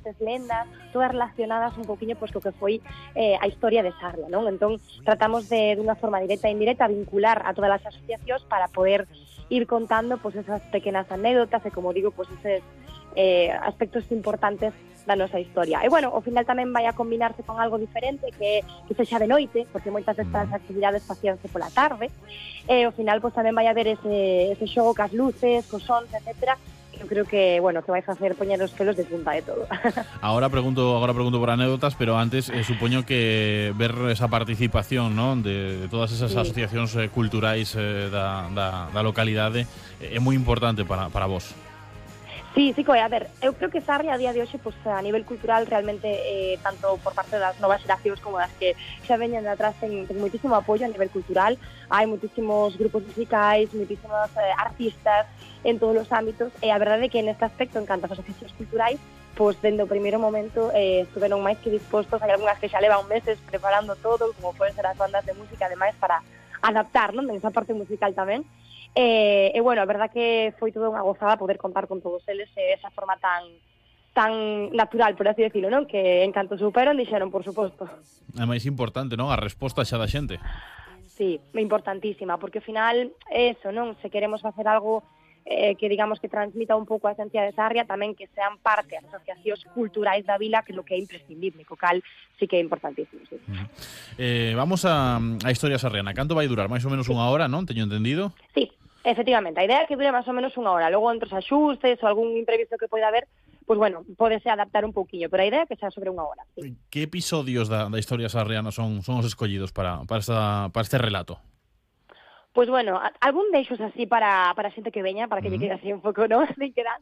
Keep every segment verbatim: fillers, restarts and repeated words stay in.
mitos, lendas, todas relacionadas un poquinho pois, co que foi eh, a historia de Sarria, non? Entón, tratamos de, de unha forma directa e indirecta, vincular a todas as asociacións para poder ir contando pois, esas pequenas anécdotas e, como digo, pois, eses eh, aspectos importantes da nosa historia. E, bueno, ao final tamén vai a combinarse con algo diferente que, que sexa de noite, porque moitas destas actividades facíanse pola tarde, e ao final pois, tamén vai haber ese, ese xogo cas luces, cos sons, etcétera, que eu creo que, bueno, que vai facer poñer os pelos de punta de todo. Ahora pregunto, agora pregunto por anécdotas, pero antes eh, supoño que ver esa participación, ¿no?, de, de todas esas sí. asociacións eh, culturais eh, da, da, da localidade é eh, moi importante para, para vos. Sí, sí, coi, a ver, eu creo que Sarria a día de hoxe, pues, a nivel cultural, realmente, eh, tanto por parte das novas xeracións como das que xa veñen de atrás, ten, ten moitísimo apoio a nivel cultural. Hai moitísimos grupos musicais, moitísimos eh, artistas en todos os ámbitos, e a verdade é que neste aspecto, en canto ás asociacións culturais, pois, dende o primeiro momento, eh, estuveron máis que dispostos. Hai algunhas que xa levan meses preparando todo, como poden ser as bandas de música, ademais, para adaptar, non?, esa parte musical tamén. E, e, bueno, a verdad que foi toda unha gozada poder contar con todos eles e esa forma tan tan natural, por así decirlo, non? Que en canto superon, dixeron, por suposto. É máis importante, non? A resposta xa da xente. Sí, importantísima, porque ao final, eso, non? Se queremos facer algo eh, que digamos que transmita un pouco a esencia de Sarria, tamén que sean parte as asociacións culturais da vila, que é o que é imprescindible, co cal sí que é importantísimo, sí. Uh -huh. eh, vamos a, a historia sarriana. Canto vai durar? Mais ou menos sí. unha hora, non? Teño entendido? Sí. Efectivamente, a idea é que dure máis ou menos unha hora. Logo, entre os axustes ou algún imprevisto que poida haber, pois, bueno, pódese adaptar un pouquiño, pero a idea é que sea sobre unha hora. Sí. Que episodios da, da historia sarriana son, son os escollidos para, para, esta, para este relato? Pois, bueno, algún deixos así para, para a xente que veña, para que uh -huh. lle quede así un pouco, non?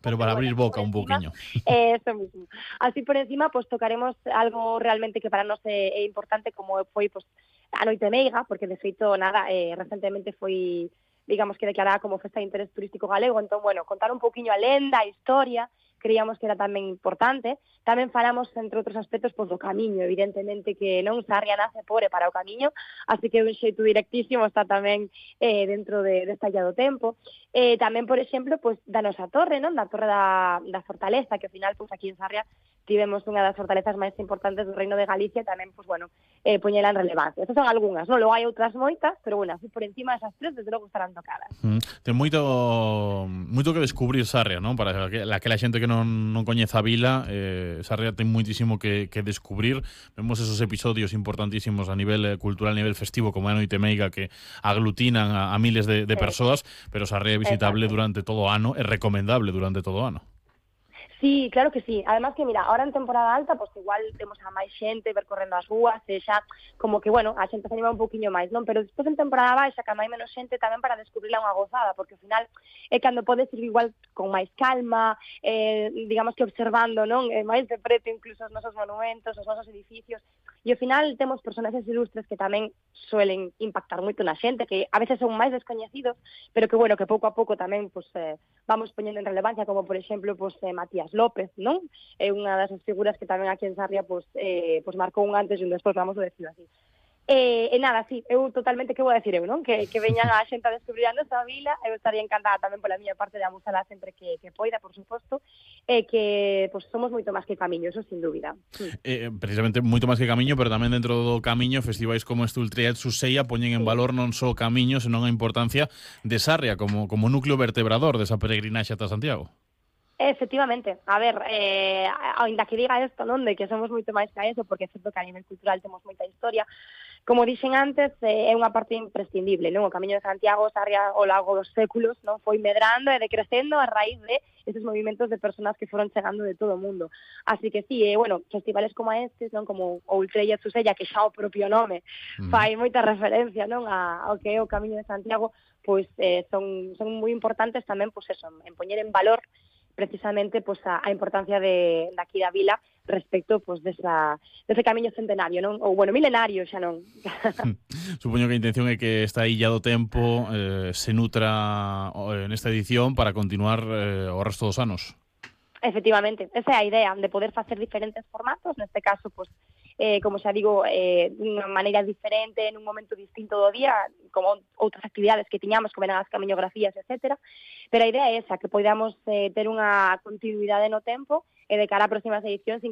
Pero para abrir bueno, boca un pouquiño. Eh, eso mismo. Así por encima, pois, tocaremos algo realmente que para nós é, é importante, como foi, pois, a Noite Meiga, porque, de feito, nada, eh, recentemente foi, digamos que declarada como festa de interés turístico galego. Entón, bueno, contar un poquinho a lenda, a historia, creíamos que era tamén importante. Tamén falamos, entre outros aspectos, pois, do camiño, evidentemente que non Sarria nace pobre para o camiño, así que un xeito directísimo está tamén eh, dentro de, desta guía do tempo. Eh, tamén, por exemplo, pois, da nosa torre, non? Da torre da, da Fortaleza, que ao final, pois, aquí en Sarria tivemos unha das fortalezas máis importantes do Reino de Galicia, tamén, pois, bueno, eh, poñela en relevancia. Estas son algunhas, non? Logo hai outras moitas, pero, bueno, así por encima esas tres, desde logo estarán tocadas. Mm, ten moito moito que descubrir Sarria, non? Para que, aquela xente que non, non coñeza a vila, eh, Sarria ten moitísimo que, que descubrir. Vemos esos episodios importantísimos a nivel eh, cultural, a nivel festivo, como a Noite Meiga, que aglutinan a, a miles de, de sí. persoas, pero Sarria é visitable Exacto. durante todo o ano, é recomendable durante todo o ano. Sí, claro que sí. Además que, mira, ahora en temporada alta, pues igual temos a máis xente percorrendo as rúas, e xa como que, bueno, a xente se anima un poquinho máis, non? Pero despois en temporada baixa, que hai menos xente, tamén para descubrirla unha gozada, porque ao final é cando podes ir igual con máis calma, eh, digamos que observando, non? Eh, máis de preto incluso os nosos monumentos, os nosos edificios, e ao final temos personaxes ilustres que tamén suelen impactar moito na xente, que a veces son máis descoñecidos, pero que, bueno, que pouco a pouco tamén, pues, eh, vamos poñendo en relevancia, como, por exemplo, pues, eh, Matías López, non? É unha das figuras que tamén aquí en Sarria pues, eh, pues marcou un antes e un despois, vamos a decirlo así. E, e nada, sí, eu totalmente, que vou a decir eu, non? Que, que veñan a xente a descubrir a nosa vila, eu estaría encantada tamén pola miña parte de amosala sempre que, que poida, por suposto, e que pues, somos moito máis que camiño, eso sin dúbida. Sí. Eh, precisamente moito máis que camiño, pero tamén dentro do camiño, festivais como este Ultriat Suseia poñen en valor non só o camiño, senón a importancia de Sarria como, como núcleo vertebrador desa peregrinaxe ata Santiago. Efectivamente, a ver, eh, ainda que diga isto, non, de que somos moito máis que eso, porque é certo que a nivel cultural temos moita historia, como dixen antes, eh, é unha parte imprescindible, non? O Camiño de Santiago, Sarria, ao largo dos séculos, non, foi medrando e decrecendo a raíz de esos movimentos de personas que foron chegando de todo o mundo. Así que sí, eh, bueno, festivales como estes, non, como o Ultriat Suseia, que xa o propio nome mm. fai moita referencia, non, a, ao que é o Camiño de Santiago, pois eh, son, son moi importantes tamén, pois eso, en poñer en valor precisamente pues, a, a importancia de, de aquí da vila respecto pues, desa, dese camiño centenario, non? Ou, bueno, milenario xa non. Supoño que a intención é que esta illa do tempo eh, se nutra eh, nesta edición para continuar eh, o resto dos anos. Efectivamente, esa é a idea, de poder facer diferentes formatos, neste caso, pues, eh, como xa digo, eh, dunha maneira diferente, nun momento distinto do día, como outras actividades que tiñamos, como eran as camiñografías, etcétera. Pero a idea é esa, que podamos eh, ter unha continuidade no tempo e de cara a próximas edicións